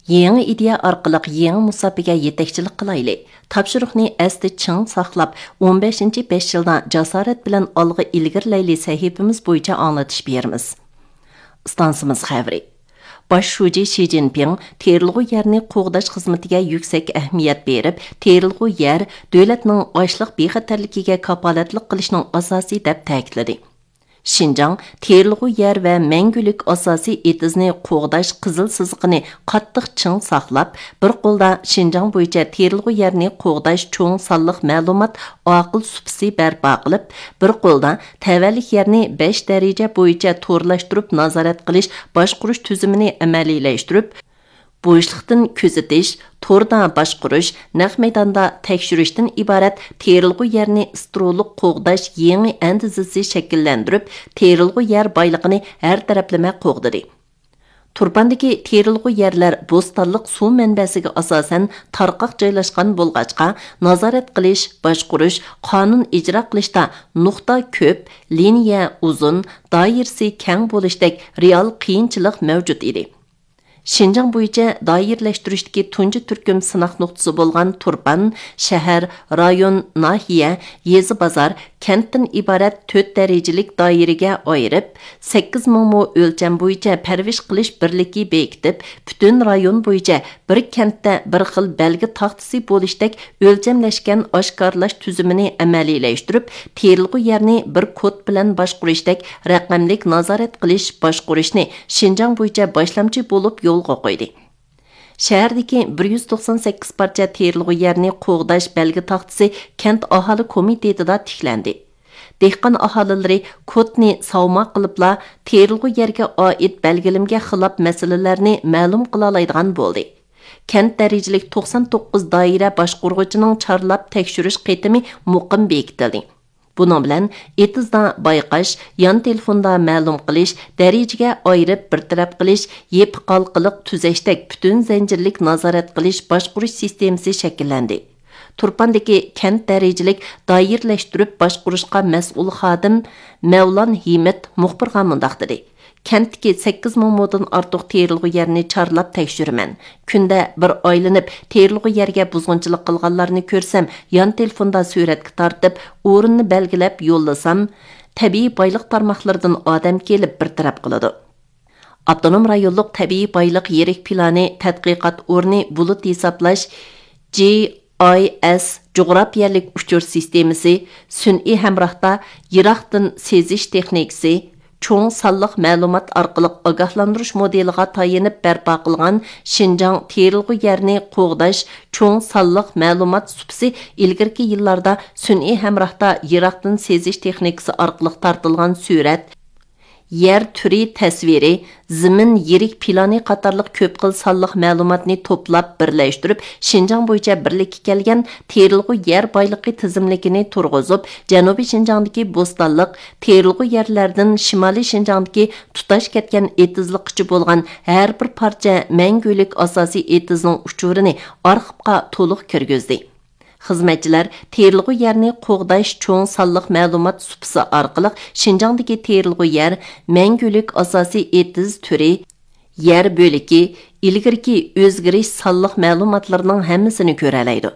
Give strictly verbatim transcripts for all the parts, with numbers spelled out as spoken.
يېڭى ئىدىيە ئارقىلىق يېڭى مۇساپىگە يېتەكچىلىك قىلايلى. تاپشۇرۇقنى ئەستە چىڭ ساقلاپ، ئون بەشىنچى بەش يىلدا جاسارەت بىلەن ئالغا ئىلگىرىلەيلى سەھىپىمىز بويىچە ئاڭلىتىش بېرىمىز. ئىستانسىمىز خەۋىرى. باش شۇجى شى جىنپىڭ تېرىلغۇ يەرنى قوغداش خىزمىتىگە يۈكسەك ئەھمىيەت بېرىپ، تېرىلغۇ يەر دۆلەتنىڭ ئاشلىق بىخەتەرلىكىگە كاپالەتلىك قىلىشنىڭ ئاساسى دەپ تەكىتلىدى. شىنجاڭ تېرىلغۇ يەر ۋە مەڭگۈلۈك ئاساسىي ئېتىزنى قوغداش قىزىل سىزىقىنى قاتتىق چىڭ ساقلاپ، بىر قولدا شىنجاڭ بويىچە تېرىلغۇ يەرنى قوغداش چوڭ سانلىق مەلۇمات ئاقىل سۇپىسى بەرپا قىلىپ، بىر قولدا تەۋەلىك يەرنى بەش دەرىجە بويىچە تورلاشتۇرۇپ نازارەت قىلىش باشقۇرۇش تۈزۈمىنى ئەمەلىيلەشتۈرۈپ، بوشلۇقتىن كۆزىتىش، توردا باشقۇرۇش، نەق مەيداندا تەكشۈرۈشتىن ئىبارەت تېرىلغۇ يەرنى ئىسترولۇق قوغداش يېڭى ئەندىزىسى شەكىللەندۈرۈپ، تېرىلغۇ يەر بايلىقىنى ھەر تەرەپلىمە قوغدىدى. تۇرپاندىكى تېرىلغۇ يەرلەر بوستانلىق سۇ مەنبەسىگە ئاساسەن تارقاق جايلاشقان بولغاچقا، نازارەت قىلىش، باشقۇرۇش، قانۇن ئىجرا قىلىشتا نۇقتا كۆپ، لىنىيە ئۇزۇن، دائىرىسى كەڭ بولۇشتەك رېئال قىيىنچىلىق مەۋجۇت ئىدى. شىنجاڭ بويىچە دائىرىلەشتۈرۈشتىكى تۇنجى تۈركۈم سىناق نۇقتىسى بولغان تۇرپان شەھەر، رايون، ناھىيە، يېزا، بازار، كەنتتىن ئىبارەت تۆت دەرىجىلىك دائىرىگە ئايرىپ، سەككىز مىڭ مو ئۆلچەم بويىچە پەرۋىش قىلىش بىرلىكى بېكىتىپ، پۈتۈن رايون بويىچە بىر كەنتتە بىر خىل بەلگە تاختىسى بولۇشتەك ئۆلچەملەشكەن ئاشكارىلاش تۈزۈمىنى ئەمەلىيلەشتۈرۈپ، تېرىلغۇ يەرنى بىر كود بىلەن باشقۇرۇشتەك رەقەملىك نازارەت قىلىش باشقۇرۇشنى شىنجاڭ بويىچە باشلامچى بولۇپ يولغا قويدى. شەھەردىكى بىر يۈز توقسان سەككىز پارچە تېرىلغۇ يەرنى قوغداش بەلگە تاختىسى كەنت ئاھالە كومىتېتىدا تىكلەندى. دېھقان ئاھالىلىرى كودنى ساۋما قىلىپلا، تېرىلغۇ يەرگە ئائىت بەلگىلىمىگە خىلاپ مەسىلىلەرنى مەلۇم قىلالايدىغان بولدى. كەنت دەرىجىلىك توقسان توققۇز دائىرە باشقۇرغۇچىنىڭ چارلاپ تەكشۈرۈش قېتىمى مۇقىم بېكىتىلدى. بۇنىڭ بىلەن ئېتىزدا بايقاش، يان تېلېفوندا مەلۇم قىلىش، دەرىجىگە ئايرىپ بىر تەرەپ قىلىش، يېپىق ھالقىلىق تۈزەشتەك پۈتۈن زەنجىرلىك نازارەت قىلىش باشقۇرۇش سىستېمىسى شەكىللەندى. تۇرپاندىكى كەنت دەرىجىلىك دائىرىلەشتۈرۈپ باشقۇرۇشقا مەسئۇل خادىم مەۋلان ھىمىت مۇخبىرغا مۇنداق دېدى: كەنتتىكى سەككىز مىڭ مودىن ئارتۇق تېرىلغۇ يەرنى چارلاپ تەكشۈرىمەن. كۈندە بىر ئايلىنىپ، تېرىلغۇ يەرگە بۇزغۇنچىلىق قىلغانلارنى كۆرسەم، يان تېلېفوندا سۈرەتكە تارتىپ، ئورۇننى بەلگىلەپ يوللىسام، تەبىئىي بايلىق تارماقلىرىدىن ئادەم كېلىپ بىر تەرەپ قىلىدۇ. ئاپتونوم رايونلۇق تەبىئىي بايلىق يىرىك پىلانى تەتقىقات ئورنى بۇلۇت ھېسابلاش، جى ئاي ئېس، جۇغراپىيەلىك ئۇچۇر سىستېمىسى، سۈنئىي ھەمراھتا يىراقتىن سېزىش تېخنىكىسى، چوڭ سانلىق مەلۇمات ئارقىلىق ئاگاھلاندۇرۇش مودېلىغا تايىنىپ بەرپا قىلغان شىنجاڭ تېرىلغۇ يەرنى قوغداش چوڭ سانلىق مەلۇمات سۇپىسى ئىلگىرىكى يىللاردا سۈنئىي ھەمراھتا يىراقتىن سېزىش تېخنىكىسى ئارقىلىق تارتىلغان سۈرەت، يەر تۈرى تەسۋىرى، زېمىن يىرىك پىلانى قاتارلىق كۆپ خىل سانلىق مەلۇماتنى توپلاپ بىرلەشتۈرۈپ، شىنجاڭ بويىچە بىرلىككە كەلگەن تېرىلغۇ يەر بايلىقى تىزىملىكىنى تۇرغۇزۇپ، جەنۇبىي شىنجاڭدىكى بوستانلىق، تېرىلغۇ يەرلەردىن شىمالىي شىنجاڭدىكى تۇتاش كەتكەن ئېتىزلىققىچە بولغان ھەر بىر پارچە مەڭگۈلۈك ئاساسىي ئېتىزنىڭ ئۇچۇرىنى ئارخىپقا تولۇق كىرگۈزدى. خىزمەتچىلەر تېرىلغۇ يەرنى قوغداش چوڭ سانلىق مەلۇمات سۇپىسى ئارقىلىق شىنجاڭدىكى تېرىلغۇ يەر، مەڭگۈلۈك ئاساسىي ئېتىز تۈرى، يەر بۆلىكى، ئىلگىرىكى ئۆزگىرىش سانلىق مەلۇماتلىرىنىڭ ھەممىسىنى كۆرەلەيدۇ.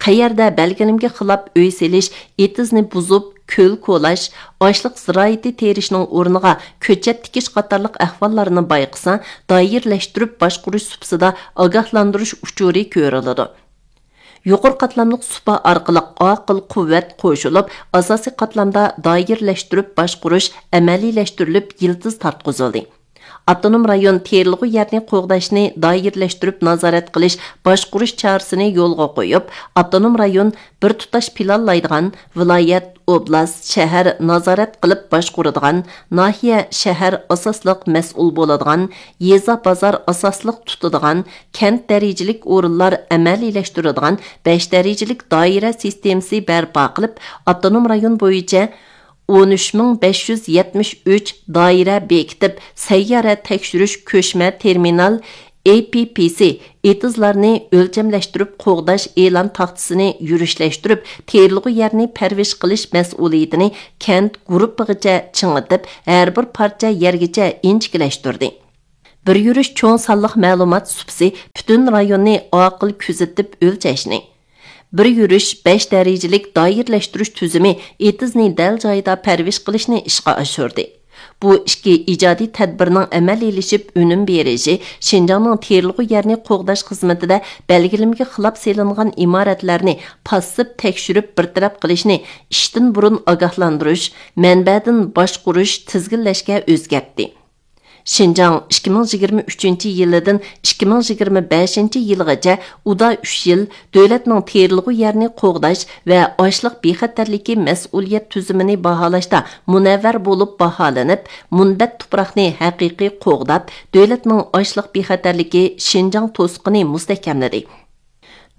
قەيەردە بەلگىلىمىگە خىلاپ ئۆي سېلىش، ئېتىزنى بۇزۇپ، كۆل كولاش، ئاشلىق زىرائىتى تېرىشنىڭ ئورنىغا كۆچەت تىكىش قاتارلىق ئەھۋاللارنى بايقىسا، دائىرىلەشتۈرۈپ باشقۇرۇش سۇپىسىدا ئاگاھلاندۇرۇش ئۇچۇرى كۆرۈلىدۇ. يۇقىرى قاتلاملىق سۇپا ئارقىلىق ئاقىل قۇۋۋەت قوشۇلۇپ، ئاساسىي قاتلامدا دائىرىلەشتۈرۈپ باشقۇرۇش ئەمەلىيلەشتۈرۈلۈپ يىلتىز تارتقۇزۇلدى. ئاپتونوم رايون تېرىلغۇ يەرنى قوغداشنى دائىرىلەشتۈرۈپ نازارەت قىلىش، باشقۇرۇش چارىسىنى يولغا قويۇپ، ئاپتونوم رايون بىر تۇتاش پىلانلايدىغان، ۋىلايەت، ئوبلاست، شەھەر نازارەت قىلىپ باشقۇرىدىغان، ناھىيە، شەھەر ئاساسلىق مەسئۇل بولىدىغان، يېزا، بازار ئاساسلىق تۇتىدىغان، كەنت دەرىجىلىك ئورۇنلار ئەمەلىيلەشتۈرىدىغان بەش دەرىجىلىك دائىرە سىستېمىسى بەرپا قىلىپ، ئاپتونوم رايون بويىچە ئون ئۈچ مىڭ بەش يۈز يەتمىش ئۈچ دائىرە بېكىتىپ، سەييارە تەكشۈرۈش كۆچمە تېرمىنال، ئېي پىي پىي سى، ئېتىزلارنى ئۆلچەملەشتۈرۈپ قوغداش ئېلان تاختىسىنى يۈرۈشلەشتۈرۈپ، تېرىلغۇ يەرنى پەرۋىش قىلىش مەسئۇلىيىتىنى كەنت گۇرۇپپىغىچە چىڭىتىپ، ھەر بىر پارچە يەرگىچە ئىنچىكىلەشتۈردى. بىر يۈرۈش چوڭ سانلىق مەلۇمات سۇپىسى پۈتۈن رايوننى ئاقىل كۆزىتىپ ئۆلچەشنى، بىر يۈرۈش بەش دەرىجىلىك دائىرىلەشتۈرۈش تۈزۈمى ئېتىزنى دەل جايىدا پەرۋىش قىلىشنى ئىشقا ئاشۇردى. بۇ ئىككى ئىجادىي تەدبىرنىڭ ئەمەلىيلىشىپ ئۈنۈم بېرىشى شىنجاڭنىڭ تېرىلغۇ يەرنى قوغداش خىزمىتىدە بەلگىلىمىگە خىلاپ سېلىنغان ئىمارەتلەرنى پاسسىپ تەكشۈرۈپ بىر تەرەپ قىلىشنى ئىشتىن بۇرۇن ئاگاھلاندۇرۇش، مەنبەدىن باشقۇرۇش، تىزگىنلەشكە ئۆزگەرتتى. شىنجاڭ ئىككى مىڭ يىگىرمە ئۈچىنچى يىلىدىن ئىككى مىڭ يىگىرمە بەشىنچى يىلغىچە ئۇدا ئۈچ يىل دۆلەتنىڭ تېرىلغۇ يەرنى قوغداش ۋە ئاشلىق بىخەتەرلىكى مەسئۇلىيەت تۈزۈمىنى باھالاشتا مۇنەۋۋەر بولۇپ باھالىنىپ، مۇنبەت تۇپراقنى ھەقىقىي قوغداپ، دۆلەتنىڭ ئاشلىق بىخەتەرلىكى شىنجاڭ توسۇقىنى مۇستەھكەملىدى.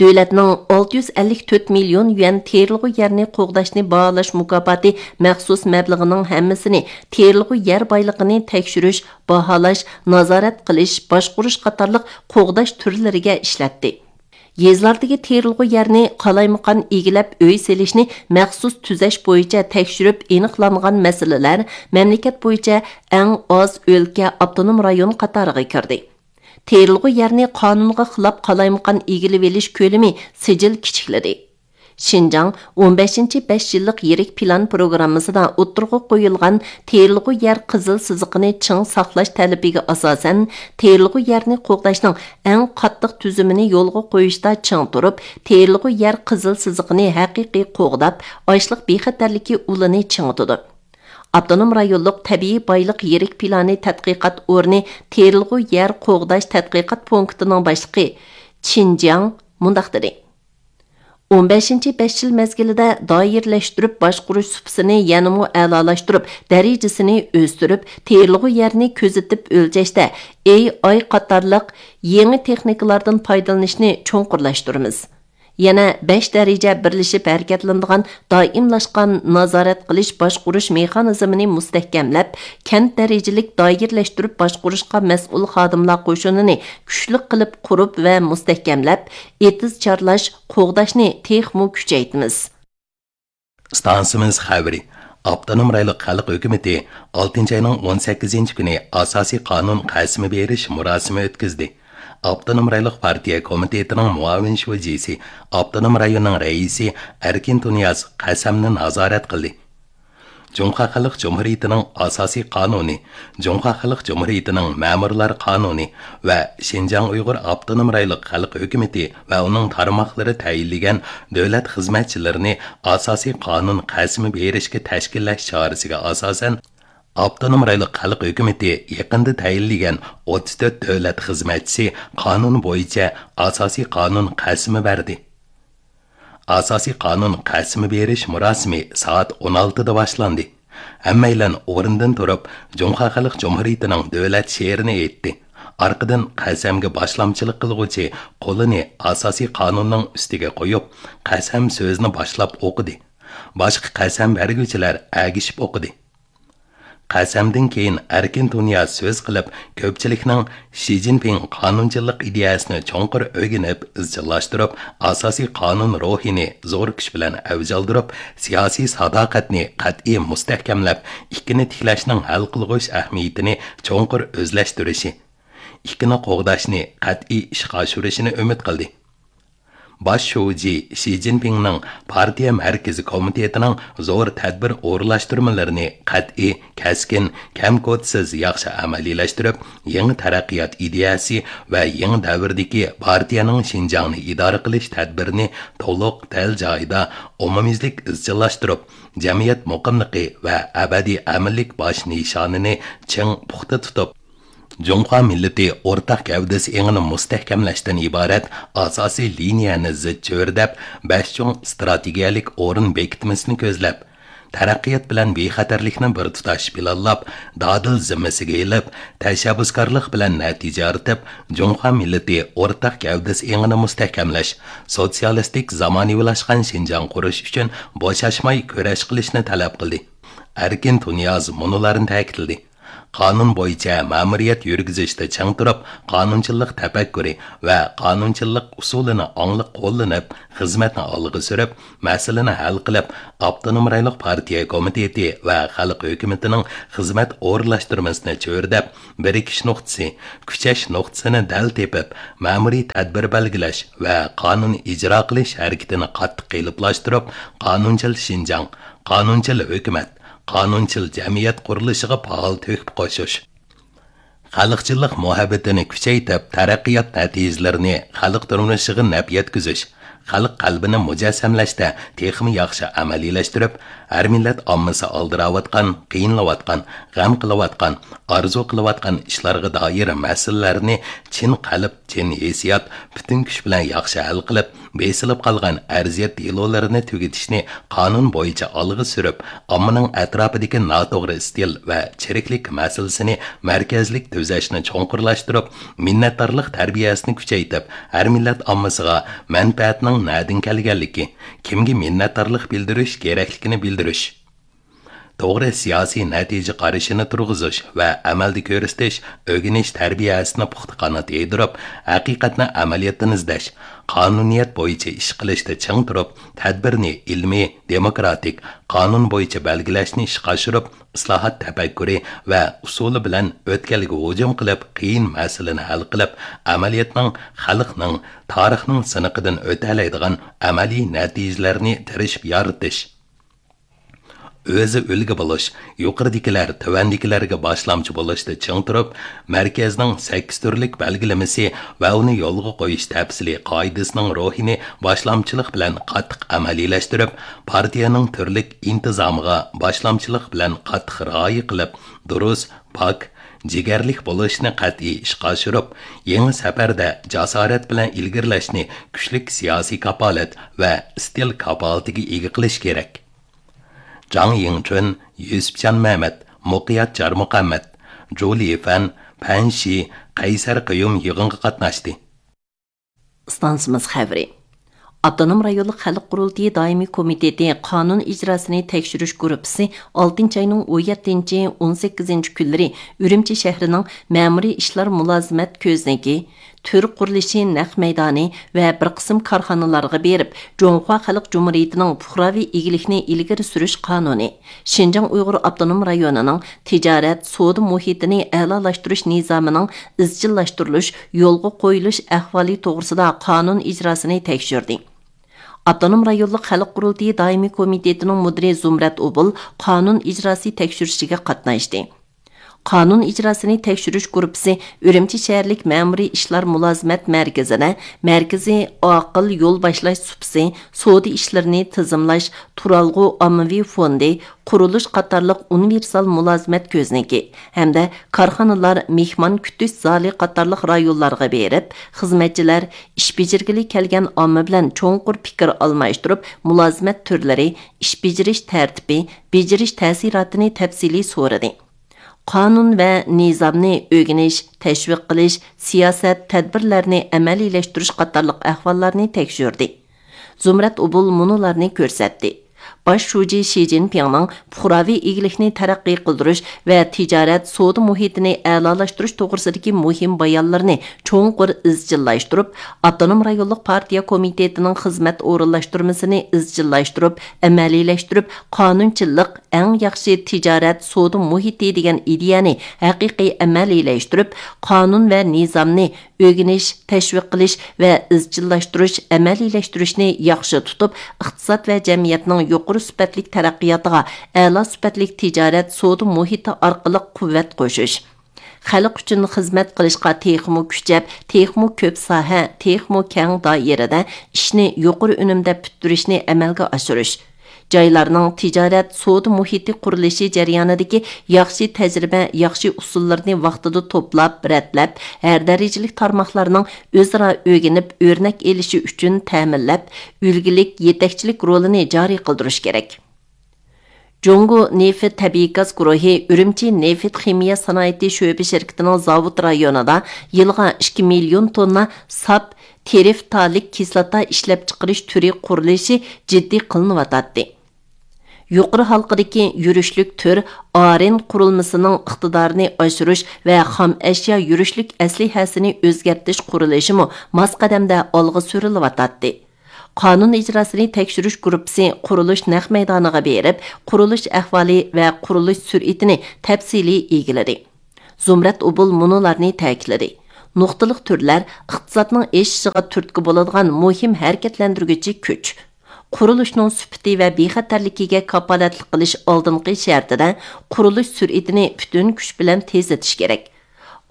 دۆلەتنىڭ ئالتە يۈز ئەللىك تۆت مىليون يۈەن تېرىلغۇ يەرنى قوغداشنى باھالاش مۇكاپاتى مەخسۇس مەبلىغىنىڭ ھەممىسىنى تېرىلغۇ يەر بايلىقىنى تەكشۈرۈش، باھالاش، نازارەت قىلىش، باشقۇرۇش قاتارلىق قوغداش تۈرلىرىگە ئىشلەتتى. يېزىلاردىكى تېرىلغۇ يەرنى قالايمىقان ئىگىلەپ ئۆي سېلىشنى مەخسۇس تۈزەش بويىچە تەكشۈرۈپ ئېنىقلانغان مەسىلىلەر مەملىكەت بويىچە ئەڭ ئاز ئۆلكە، ئاپتونوم رايون قاتارىغا كىردى. تېرىلغۇ يەرنى قانۇنغا خىلاپ قالايمىقان ئىگىلىۋېلىش كۆلىمى سىجىل كىچىكلىدى. شىنجاڭ ئون بەشىنچى بەش يىللىق يىرىك پىلان پروگراممىسىدا ئوتتۇرىغا قويۇلغان تېرىلغۇ يەر قىزىل سىزىقىنى چىڭ ساقلاش تەلىپىگە ئاساسەن، تېرىلغۇ يەرنى قوغداشنىڭ ئەڭ قاتتىق تۈزۈمىنى يولغا قويۇشتا چىڭ تۇرۇپ، تېرىلغۇ يەر قىزىل سىزىقىنى ھەقىقىي قوغداپ، ئاشلىق بىخەتەرلىكى ئۇلىنى چىڭىتىدۇ. ئاپتونوم رايونلۇق تەبىئىي بايلىق يىرىك پىلانى تەتقىقات ئورنى تېرىلغۇ يەر قوغداش تەتقىقات پونكىتىنىڭ باشلىقى چىن جياڭ مۇنداق دېدى: «ئون بەشىنچى بەش يىل مەزگىلىدە دائىرىلەشتۈرۈپ باشقۇرۇش سۇپىسىنى يەنىمۇ ئەلالاشتۇرۇپ، دەرىجىسىنى ئۆستۈرۈپ، تېرىلغۇ يەرنى كۆزىتىپ ئۆلچەشتە ئېي ئاي قاتارلىق يېڭى تېخنىكىلاردىن پايدىلىنىشنى چوڭقۇرلاشتۇرىمىز.» يەنە بەش دەرىجە بىرلىشىپ ھەرىكەتلىنىدىغان دائىملاشقان نازارەت قىلىش باشقۇرۇش مېخانىزمىنى مۇستەھكەملەپ، كەنت دەرىجىلىك دائىرىلەشتۈرۈپ باشقۇرۇشقا مەسئۇل خادىملار قوشۇنىنى كۈچلۈك قىلىپ قۇرۇپ ۋە مۇستەھكەملەپ، ئېتىز چارلاش، قوغداشنى تېخىمۇ كۈچەيتىمىز. ئىستانسىمىز خەۋىرى. ئاپتونوم رايونلۇق خەلق ھۆكۈمىتى ئالتىنچى ئاينىڭ ئون سەككىزىنچى كۈنى ئاساسىي قانۇن قەسىمى بېرىش مۇراسىمى ئۆتكۈزدى. ئاپتونوم رايونلۇق پارتىيە كومىتېتىنىڭ مۇئاۋىن شۇجىسى، ئاپتونوم رايوننىڭ رەئىسى ئەركىن تۇنىياز قەسەمنى نازارەت قىلدى. جۇڭخۇا خەلق جۇمھۇرىيىتىنىڭ ئاساسىي قانۇنى، جۇڭخۇا خەلق جۇمھۇرىيىتىنىڭ مەمۇرلار قانۇنى ۋە شىنجاڭ ئۇيغۇر ئاپتونوم رايونلۇق خەلق ھۆكۈمىتى ۋە ئۇنىڭ تارماقلىرى تەيىنلىگەن دۆلەت خىزمەتچىلىرىنى ئاساسىي قانۇن قەسىمى بېرىشكە تەشكىللەش چارىسىگە ئاساسەن، ئاپتونوم رايونلۇق خەلق ھۆكۈمىتى يېقىندا تەيىنلىگەن ئوتتۇز تۆت دۆلەت خىزمەتچىسى قانۇن بويىچە ئاساسىي قانۇن قەسىمى بەردى. ئاساسىي قانۇن قەسىمى بېرىش مۇراسىمى سائەت ئون ئالتىدا باشلاندى. ھەممەيلەن ئورنىدىن تۇرۇپ، جۇڭخۇا خەلق جۇمھۇرىيىتىنىڭ دۆلەت شېئىرىنى ئېيتتى. ئارقىدىن قەسەمگە باشلامچىلىق قىلغۇچى قولىنى ئاساسىي قانۇننىڭ ئۈستىگە قويۇپ، قەسەم سۆزىنى باشلاپ ئوقۇدى. باشقا قەسەم بەرگۈچىلەر ئەگىشىپ ئوقۇدى. قەسەمدىن كېيىن ئەركىن تۇنىياز سۆز قىلىپ، كۆپچىلىكنىڭ شى جىنپىڭ قانۇنچىللىق ئىدىيەسىنى چوڭقۇر ئۆگىنىپ، ئىزچىللاشتۇرۇپ، ئاساسىي قانۇن روھىنى زور كۈچ بىلەن ئەۋج ئالدۇرۇپ، سىياسىي ساداقەتنى قەتئىي مۇستەھكەملەپ، ئىككىنى تىكلەشنىڭ ھەل قىلغۇچ ئەھمىيىتىنى چوڭقۇر ئۆزلەشتۈرۈشى، ئىككىنى قوغداشنى قەتئىي ئىشقا ئاشۇرۇشىنى ئۈمىد قىلدى. باش شۇجى شى جىنپىڭنىڭ پارتىيە مەركىزىي كومىتېتىنىڭ زور تەدبىر ئورۇنلاشتۇرمىلىرىنى قەتئىي، كەسكىن، كەم-كوتىسىز ياخشى ئەمەلىيلەشتۈرۈپ، يېڭى تەرەققىيات ئىدىيەسى ۋە يېڭى دەۋردىكى پارتىيەنىڭ شىنجاڭنى ئىدارە قىلىش تەدبىرىنى تولۇق، دەل جايىدا، ئومۇميۈزلۈك ئىزچىللاشتۇرۇپ، جەمئىيەت مۇقىملىقى ۋە ئەبەدىي ئەمىنلىك باش نىشانىنى چىڭ پۇختا تۇتۇپ، جۇڭخۇا مىللىتى ئورتاق گەۋدىسى ئېڭىنى مۇستەھكەملەشتىن ئىبارەت ئاساسىي لىنىيەنى زىچ چۆرىدەپ، بەش چوڭ ئىستراتېگىيەلىك ئورۇن بېكىتمىسىنى كۆزلەپ، تەرەققىيات بىلەن بىخەتەرلىكنى بىر تۇتاش پىلانلاپ، دادىل زىممىسىگە ئېلىپ، تەشەببۇسكارلىق بىلەن نەتىجە يارىتىپ، جۇڭخۇا مىللىتى ئورتاق گەۋدىسى ئېڭىنى مۇستەھكەملەش، سوتسىيالىستىك زامانىۋىلاشقان شىنجاڭ قۇرۇش ئۈچۈن بوشاشماي كۈرەش قىلىشنى تەلەپ قىلدى. ئەركىن تۇنىياز مۇنۇلارنى تەكىتلىدى. قانۇن بويىچە مەمۇرىيەت يۈرگۈزۈشتە چىڭ تۇرۇپ، قانۇنچىللىق تەپەككۇرى ۋە قانۇنچىللىق ئۇسۇلىنى ئاڭلىق قوللىنىپ، خىزمەتنى ئالغا سۈرۈپ، مەسىلىنى ھەل قىلىپ، ئاپتونوم رايونلۇق پارتىيە كومىتېتى ۋە خەلق ھۆكۈمىتىنىڭ خىزمەت ئورۇنلاشتۇرمىسىنى چۆرىدەپ، بىرىكىش نۇقتىسى، كۈچەش نۇقتىسىنى دەل تېپىپ، مەمۇرىي تەدبىر بەلگىلەش ۋە قانۇن ئىجرا قىلىش ھەرىكىتىنى قاتتىق قېلىپلاشتۇرۇپ، قانۇنچىل شىنجاڭ، قانۇنچىل ھۆكۈمەت، قانۇنچىل جەمئىيەت قۇرۇلۇشىغا پائال تۆھپە قوشۇش. خەلقچىللىق مۇھەببىتىنى كۈچەيتىپ، تەرەققىيات نەتىجىلىرىنى خەلق تۇرمۇشىغا نەپ يەتكۈزۈش، خەلق قەلبىنى مۇجەسسەملەشتە تېخىمۇ ياخشى ئەمەلىيلەشتۈرۈپ، ھەر مىللەت ئاممىسى ئالدىراۋاتقان، قىينىلىۋاتقان، غەم قىلىۋاتقان، ئارزۇ قىلىۋاتقان ئىشلارغا دائىر مەسىلىلەرنى چىن قەلب، چىن ھېسسىيات، پۈتۈن كۈچ بىلەن ياخشى ھەل قىلىپ، بېسىلىپ قالغان ئەرزىيەت دېلولىرىنى تۈگىتىشنى قانۇن بويىچە ئالغا سۈرۈپ، ئاممىنىڭ ئەتراپىدىكى ناتوغرا ئىستىل ۋە چىرىكلىك مەسىلىسىنى مەركەزلىك تۈزەشنى چوڭقۇرلاشتۇرۇپ، مىننەتدارلىق تەربىيەسىنى كۈچەيتىپ، ھەر مىللەت ئاممىسىغا مەنپەئەتنىڭ نەدىن كەلگەنلىكى، كىمگە مىننەتدارلىق بىلدۈرۈش كېرەكلىكىنى بىلدۈرۈش. توغرا سىياسىي نەتىجە قارىشىنى تۇرغۇزۇش ۋە ئەمەلدە كۆرسىتىش، ئۆگىنىش تەربىيەسىنى پۇختا قانات يايدۇرۇپ، ھەقىقەتنى ئەمەلىيەتتىن ئىزدەش، قانۇنىيەت بويىچە ئىش قىلىشتا چىڭ تۇرۇپ، تەدبىرنى ئىلمىي، دېموكراتىك، قانۇن بويىچە بەلگىلەشنى ئىشقا ئاشۇرۇپ، ئىسلاھات تەپەككۇرى ۋە ئۇسۇلى بىلەن ئۆتكەلگە ھۇجۇم قىلىپ، قىيىن مەسىلىنى ھەل قىلىپ، ئەمەلىيەتنىڭ، خەلقنىڭ، تارىخنىڭ سىنىقىدىن ئۆتەلەيدىغان ئەمەلىي نەتىجىلەرنى تىرىشىپ يارىتىش. ئۆزى ئۈلگە بولۇش، يۇقىرىدىكىلەر تۆۋەندىكىلەرگە باشلامچى بولۇشتا چىڭ تۇرۇپ، مەركەزنىڭ سەككىز تۈرلۈك بەلگىلىمىسى ۋە ئۇنى يولغا قويۇش تەپسىلىي قائىدىسىنىڭ روھىنى باشلامچىلىق بىلەن قاتتىق ئەمەلىيلەشتۈرۈپ، پارتىيەنىڭ تۈرلۈك ئىنتىزامىغا باشلامچىلىق بىلەن قاتتىق رىئايە قىلىپ، دۇرۇس، پاك، جىگەرلىك بولۇشنى قەتئىي ئىشقا ئاشۇرۇپ، يېڭى سەپەردە جاسارەت بىلەن ئىلگىرىلەشنى كۈچلۈك سىياسىي كاپالەت ۋە ئىستىل كاپالىتىگە ئىگە قىلىش كېرەك. جاڭ يىڭچۈن، يۈسۈپجان مەمەت، مۇقىيەت جارمۇھەممەت، جۇ لىفەن، پەن شى، قەيسەر قېيۇم يىغىنغا قاتناشتى. ئىستانسىمىز خەۋىرى. ئاپتونوم رايونلۇق خەلق قۇرۇلتىيى دائىمىي كومىتېتى قانۇن ئىجراسىنى تەكشۈرۈش گۇرۇپپىسى ئالتىنچى ئاينىڭ ئون يەتتىنچى، ئون سەككىزىنچى كۈنلىرى ئۈرۈمچى شەھىرىنىڭ مەمۇرىي ئىشلار مۇلازىمەت كۆزنىكى، تۈر قۇرۇلۇشى نەق مەيدانى ۋە بىر قىسىم كارخانىلارغا بېرىپ، جۇڭخۇا خەلق جۇمھۇرىيىتىنىڭ پۇقراۋى ئىگىلىكنى ئىلگىرى سۈرۈش قانۇنى، شىنجاڭ ئۇيغۇر ئاپتونوم رايونىنىڭ تىجارەت، سودا مۇھىتىنى ئەلالاشتۇرۇش نىزامىنىڭ ئىزچىللاشتۇرۇلۇش، يولغا قويۇلۇش ئەھۋالى توغرىسىدا قانۇن ئىجراسىنى تەكشۈردى. ئاپتونوم رايونلۇق خەلق قۇرۇلتىيى دائىمىي كومىتېتىنىڭ مۇدىرى زۇمرەت ئوبۇل قانۇن ئىجراسى تەكشۈرۈشىگە قاتناشتى. قانۇن ئىجراسىنى تەكشۈرۈش گۇرۇپپىسى ئۈرۈمچى شەھەرلىك مەمۇرىي ئىشلار مۇلازىمەت مەركىزىدە مەركىزىي ئاقىل يول باشلاش سۇپىسى، سودا ئىشلىرىنى تىزىملاش، تۇرالغۇ ئاممىۋى فوندى، قۇرۇلۇش قاتارلىق ئۇنىۋېرسال مۇلازىمەت كۆزنىكى ھەمدە كارخانىلار، مېھمان كۈتۈش زالى قاتارلىق رايونلارغا بېرىپ، خىزمەتچىلەر، ئىش بېجىرگىلى كەلگەن ئامما بىلەن چوڭقۇر پىكىر ئالماشتۇرۇپ، مۇلازىمەت تۈرلىرى، ئىش بېجىرىش تەرتىپى، بېجىرىش تەسىراتىنى تەپسىلىي سورىدى. قانۇن ۋە نىزامنى ئۆگىنىش، تەشۋىق قىلىش، سىياسەت، تەدبىرلەرنى ئەمەلىيلەشتۈرۈش قاتارلىق ئەھۋاللارنى تەكشۈردى. زۇمرەت ئوبۇل مۇنۇلارنى كۆرسەتتى. باش شۇجى شى جىنپىڭنىڭ پۇقراۋى ئىگىلىكنى تەرەققىي قىلدۇرۇش ۋە تىجارەت، سودا مۇھىتىنى ئەلالاشتۇرۇش توغرىسىدىكى مۇھىم بايانلىرىنى چوڭقۇر ئىزچىللاشتۇرۇپ، ئاپتونوم رايونلۇق پارتىيە كومىتېتىنىڭ خىزمەت ئورۇنلاشتۇرمىسىنى ئىزچىللاشتۇرۇپ، ئەمەلىيلەشتۈرۈپ، قانۇنچىللىق، ئەڭ ياخشى تىجارەت، سودا مۇھىتى دېگەن ئىدىيەنى ھەقىقىي ئەمەلىيلەشتۈرۈپ، قانۇن ۋە نىزامنى ئۆگىنىش، تەشۋىق قىلىش ۋە ئىزچىللاشتۇرۇش، ئەمەلىيلەشتۈرۈشنى ياخشى تۇتۇپ، ئىقتىساد ۋە جەمئىيەتنىڭ يۇقىرى سۈپەتلىك تەرەققىياتىغا ئەلا سۈپەتلىك تىجارەت، سودا مۇھىتى ئارقىلىق قۇۋۋەت قوشۇش. خەلق ئۈچۈن خىزمەت قىلىشقا تېخىمۇ كۈچەپ، تېخىمۇ كۆپ ساھە، تېخىمۇ كەڭ دائىرىدە ئىشنى يۇقىرى ئۈنۈمدە پۈتتۈرۈشنى ئەمەلگە ئاشۇرۇش. جايلارنىڭ تىجارەت، سودا مۇھىتى قۇرۇلۇشى جەريانىدىكى ياخشى تەجرىبە، ياخشى ئۇسۇللىرىنى ۋاقتىدا توپلاپ، رەتلەپ، ھەر دەرىجىلىك تارماقلارنىڭ ئۆزئارا ئۆگىنىپ، ئۆرنەك ئېلىشى ئۈچۈن تەمىنلەپ، ئۈلگىلىك يېتەكچىلىك رولىنى جارى قىلدۇرۇش كېرەك. جۇڭگو نېفىت تەبىئىي گاز گۇرۇھى ئۈرۈمچى نېفىت خىمىيە سانائىتى شۆبە شىركىتىنىڭ زاۋۇت رايونىدا يىلغا ئىككى مىليون توننا ساپ تېرىفتالىك كىسلاتا ئىشلەپچىقىرىش تۈرى قۇرۇلۇشى جىددىي قىلىنىۋاتاتتى. يۇقىرى ھالقىدىكى يۈرۈشلۈك تۈر ئارېن قۇرۇلمىسىنىڭ ئىقتىدارىنى ئاشۇرۇش ۋە خام ئەشيا يۈرۈشلۈك ئەسلىھەسىنى ئۆزگەرتىش قۇرۇلۇشىمۇ ماس قەدەمدە ئالغا سۈرۈلۈۋاتاتتى. قانۇن ئىجراسىنى تەكشۈرۈش گۇرۇپپىسى قۇرۇلۇش نەق مەيدانىغا بېرىپ، قۇرۇلۇش ئەھۋالى ۋە قۇرۇلۇش سۈرئىتىنى تەپسىلىي ئىگىلىدى. زۇمرەت ئوبۇل مۇنۇلارنى تەكىتلىدى: نۇقتىلىق تۈرلەر ئىقتىسادنىڭ ئېشىشىغا تۈرتكە بولىدىغان مۇھىم ھەرىكەتلەندۈرگۈچى كۈچ. قۇرۇلۇشنىڭ سۈپىتى ۋە بىخەتەرلىكىگە كاپالەتلىك قىلىش ئالدىنقى شەرتىدە، قۇرۇلۇش سۈرئىتىنى پۈتۈن كۈچ بىلەن تېزلىتىش كېرەك.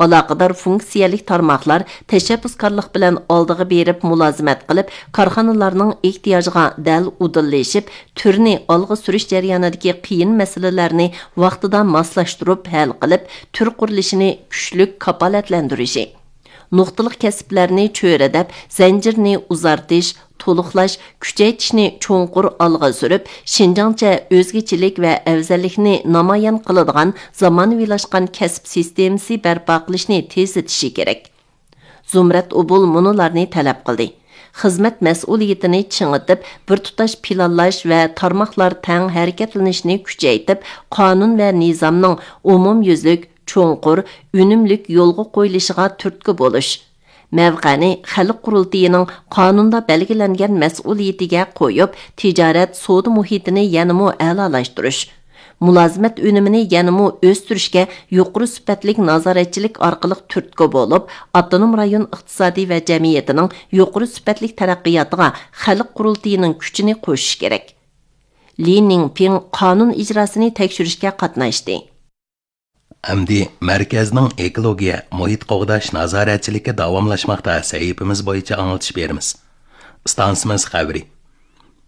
ئالاقىدار فۇنكسىيەلىك تارماقلار تەشەببۇسكارلىق بىلەن ئالدىغا بېرىپ مۇلازىمەت قىلىپ، كارخانىلارنىڭ ئېھتىياجىغا دەل ئۇدۇللىشىپ، تۈرنى ئالغا سۈرۈش جەريانىدىكى قىيىن مەسىلىلەرنى ۋاقتىدا ماسلاشتۇرۇپ ھەل قىلىپ، تۈر قۇرۇلۇشىنى كۈچلۈك كاپالەتلەندۈرۈشى. نۇقتىلىق كەسىپلەرنى چۆرىدەپ، زەنجىرنى ئۇزارتىش، تولۇقلاش، كۈچەيتىشنى چوڭقۇر ئالغا سۈرۈپ، شىنجاڭچە ئۆزگىچىلىك ۋە ئەۋزەللىكنى نامايان قىلىدىغان زامانىۋىلاشقان كەسىپ سىستېمىسى بەرپا قىلىشنى تېزلىتىشى كېرەك. زۇمرەت ئوبۇل مۇنۇلارنى تەلەپ قىلدى: خىزمەت مەسئۇلىيىتىنى چىڭىتىپ، بىر تۇتاش پىلانلاش ۋە تارماقلار تەڭ ھەرىكەتلىنىشىنى كۈچەيتىپ، قانۇن ۋە نىزامنىڭ ئومۇميۈزلۈك، چوڭقۇر، ئۈنۈملۈك يولغا قويۇلۇشىغا تۈرتكە بولۇش. مەۋقەنى خەلق قۇرۇلتىيىنىڭ قانۇندا بەلگىلەنگەن مەسئۇلىيىتىگە قويۇپ، تىجارەت، سودا مۇھىتىنى يەنىمۇ ئەلالاشتۇرۇش. مۇلازىمەت ئۈنۈمىنى يەنىمۇ ئۆستۈرۈشكە يۇقىرى سۈپەتلىك نازارەتچىلىك ئارقىلىق تۈرتكە بولۇپ، ئاپتونوم رايون ئىقتىسادى ۋە جەمئىيىتىنىڭ يۇقىرى سۈپەتلىك تەرەققىياتىغا خەلق قۇرۇلتىيىنىڭ كۈچىنى قوشۇش كېرەك. لى نىڭپىڭ قانۇن ئىجراسىنى تەكشۈرۈشكە قاتناشتى. ئەمدى مەركەزنىڭ ئېكولوگىيە، مۇھىت قوغداش نازارەتچىلىكى داۋاملاشماقتا سەھىپىمىز بويىچە ئاڭلىتىش بېرىمىز. ئىستانسىمىز خەۋىرى.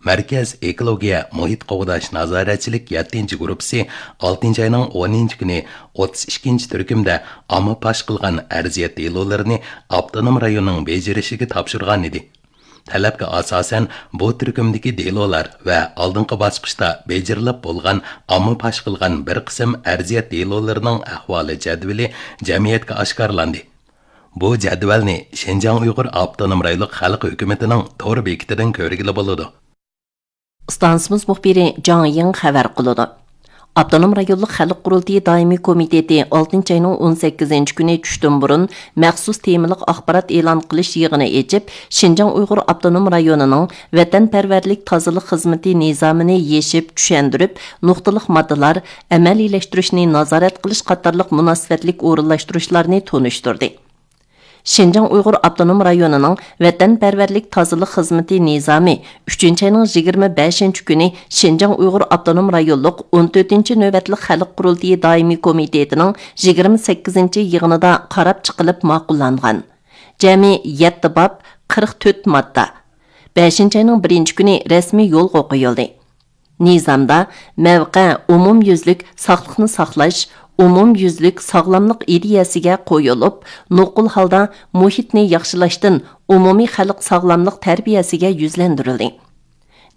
مەركەز ئېكولوگىيە، مۇھىت قوغداش نازارەتچىلىك يەتتىنچى گۇرۇپپىسى ئالتىنچى ئاينىڭ ئونىنچى كۈنى ئوتتۇز ئىككىنچى تۈركۈمدە ئامما پاش قىلغان ئەرزىيەت دېلولىرىنى ئاپتونوم رايوننىڭ بېجىرىشىگە تاپشۇرغانىدى. تەلەپكە ئاساسەن، بۇ تۈركۈمدىكى دېلولار ۋە ئالدىنقى باسقۇچتا بېجىرىلىپ بولغان ئامما پاش قىلغان بىر قىسىم ئەرزىيەت دېلولىرىنىڭ ئەھۋالى جەدۋىلى جەمئىيەتكە ئاشكارىلاندى. بۇ جەدۋەلنى شىنجاڭ ئۇيغۇر ئاپتونوم رايونلۇق خەلق ھۆكۈمىتىنىڭ تور بېكىتىدىن كۆرگىلى بولىدۇ. ئىستانسىمىز مۇخبىرى جاڭ يىڭ خەۋەر قىلىدۇ. ئاپتونوم رايونلۇق خەلق قۇرۇلتىيى دائىمىي كومىتېتى ئالتىنچى ئاينىڭ ئون سەككىزىنچى كۈنى چۈشتىن بۇرۇن مەخسۇس تېمىلىق ئاخبارات ئېلان قىلىش يىغىنى ئېچىپ، شىنجاڭ ئۇيغۇر ئاپتونوم رايونىنىڭ ۋەتەنپەرۋەرلىك تازىلىق خىزمىتى نىزامىنى يېشىپ چۈشەندۈرۈپ، نۇقتىلىق ماددىلار، ئەمەلىيلەشتۈرۈشنى نازارەت قىلىش قاتارلىق مۇناسىۋەتلىك ئورۇنلاشتۇرۇشلارنى تونۇشتۇردى. شىنجاڭ ئۇيغۇر ئاپتونوم رايونىنىڭ ۋەتەنپەرۋەرلىك تازىلىق خىزمىتى نىزامى ئۈچىنچى ئاينىڭ يىگىرمە بەشىنچى كۈنى شىنجاڭ ئۇيغۇر ئاپتونوم رايونلۇق ئون تۆتىنچى نۆۋەتلىك خەلق قۇرۇلتىيى دائىمىي كومىتېتىنىڭ يىگىرمە سەككىزىنچى يىغىنىدا قاراپ چىقىلىپ ماقۇللانغان. جەمئىي يەتتە باب، قىرىق تۆت ماددا بەشىنچى ئاينىڭ بىرىنچى كۈنى رەسمىي يولغا قويۇلدى. نىزامدا مەۋقە ئومۇميۈزلۈك ساقلىقنى ساقلاش، ئومۇميۈزلۈك ساغلاملىق ئىدىيەسىگە قويۇلۇپ، نوقۇل ھالدا مۇھىتنى ياخشىلاشتىن ئومۇمىي خەلق ساغلاملىق تەربىيەسىگە يۈزلەندۈرۈلدى.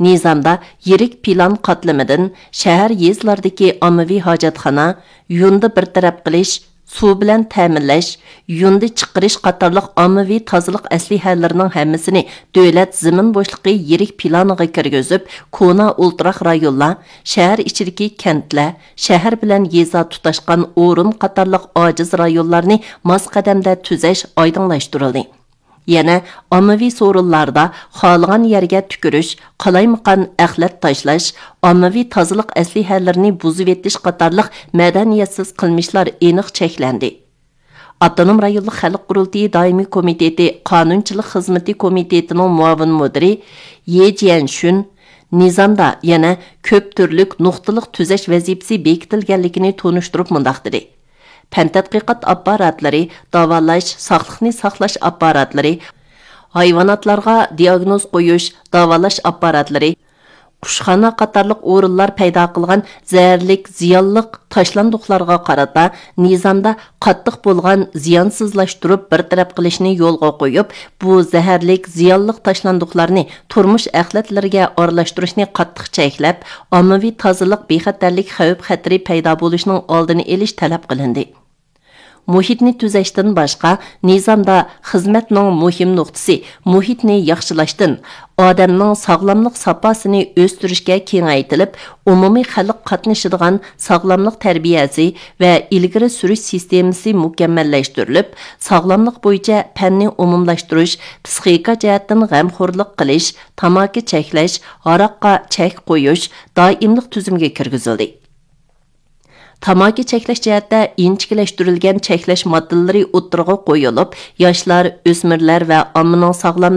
نىزامدا يىرىك پىلان قاتلىمىدىن شەھەر، يېزىلاردىكى ئاممىۋى ھاجەتخانا، يۇندى بىر تەرەپ قىلىش، سۇ بىلەن تەمىنلەش، يۇندى چىقىرىش قاتارلىق ئاممىۋى تازىلىق ئەسلىھەلىرىنىڭ ھەممىسىنى دۆلەت زېمىن بوشلۇقى يىرىك پىلانىغا كىرگۈزۈپ، كونا ئولتۇراق رايونلار، شەھەر ئىچىدىكى كەنتلەر، شەھەر بىلەن يېزا تۇتاشقان ئورۇن قاتارلىق ئاجىز رايونلارنى ماس قەدەمدە تۈزەش ئايدىڭلاشتۇرۇلدى. يەنە ئاممىۋى سورۇنلاردا خالىغان يەرگە تۈكۈرۈش، قالايمىقان ئەخلەت تاشلاش، ئاممىۋى تازىلىق ئەسلىھەلىرىنى بۇزۇۋېتىش قاتارلىق مەدەنىيەتسىز قىلمىشلار ئېنىق چەكلەندى. ئاپتونوم رايونلۇق خەلق قۇرۇلتىيى دائىمىي كومىتېتى قانۇنچىلىق خىزمىتى كومىتېتىنىڭ مۇئاۋىن مۇدىرى يې جيەنشۈن نىزامدا يەنە كۆپ تۈرلۈك نۇقتىلىق تۈزەش ۋەزىپىسى بېكىتىلگەنلىكىنى تونۇشتۇرۇپ مۇنداق دېدى: پەن تەتقىقات ئاپپاراتلىرى، داۋالاش، ساقلىقنى ساقلاش ئاپپاراتلىرى، ھايۋاناتلارغا دىئاگنوز قويۇش، داۋالاش ئاپپاراتلىرى، قۇشخانا قاتارلىق ئورۇنلار پەيدا قىلغان زەھەرلىك، زىيانلىق تاشلاندۇقلارغا قارىتا نىزامدا قاتتىق بولغان زىيانسىزلاشتۇرۇپ بىر تەرەپ قىلىشنى يولغا قويۇپ، بۇ زەھەرلىك، زىيانلىق تاشلاندۇقلارنى تۇرمۇش ئەخلەتلىرىگە ئارىلاشتۇرۇشنى قاتتىق چەكلەپ، ئاممىۋى تازىلىق بىخەتەرلىك خەۋپ-خەتىرى پەيدا بولۇشىنىڭ ئالدىنى ئېلىش تەلەپ قىلىندى. مۇھىتنى تۈزەشتىن باشقا، نىزامدا خىزمەتنىڭ مۇھىم نۇقتىسى مۇھىتنى ياخشىلاشتىن، ئادەمنىڭ ساغلاملىق ساپاسىنى ئۆستۈرۈشكە كېڭەيتىلىپ، ئومۇمىي خەلق قاتنىشىدىغان ساغلاملىق تەربىيەسى ۋە ئىلگىرى سۈرۈش سىستېمىسى مۇكەممەللەشتۈرۈلۈپ، ساغلاملىق بويىچە پەننى ئومۇملاشتۇرۇش، پىسخىكا جەھەتتىن غەمخورلۇق قىلىش، تاماكا چەكلەش، ھاراققا چەك قويۇش دائىملىق تۈزۈمگە كىرگۈزۈلدى. تاماكا چەكلەش جەھەتتە ئىنچىكىلەشتۈرۈلگەن چەكلەش ماددىلىرى ئوتتۇرىغا قويۇلۇپ، ياشلار، ئۆسمۈرلەر ۋە ئاممىنىڭ ساغلام